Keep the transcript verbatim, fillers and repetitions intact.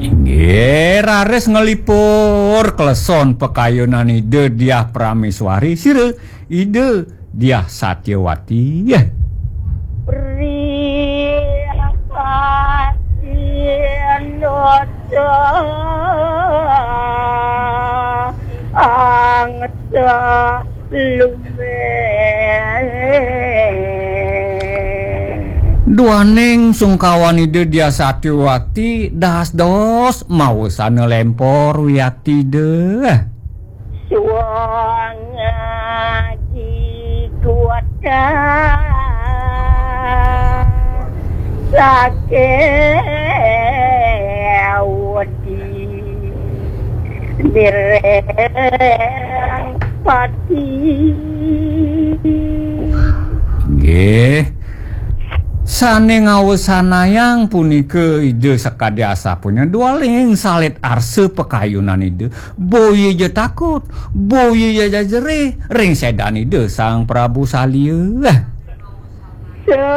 Inggih, raris nglipur kleson pakayunan Ida Diah Prameswari, sira Ida Diah Satyawati. Priyasindota angsa lumen. Duaning sungkawan Ida Diah Satyawati das-dos mawesana lempor wiatida. Suang aji kuatang sakewati direng pati. Nggih. Sane ngawesanayang punika Ida sakadi asapunika, dualing salit arsa pakayunan Ida, boya ja takut, boya ja jerih ring sedan Ida Sang Prabu Salya.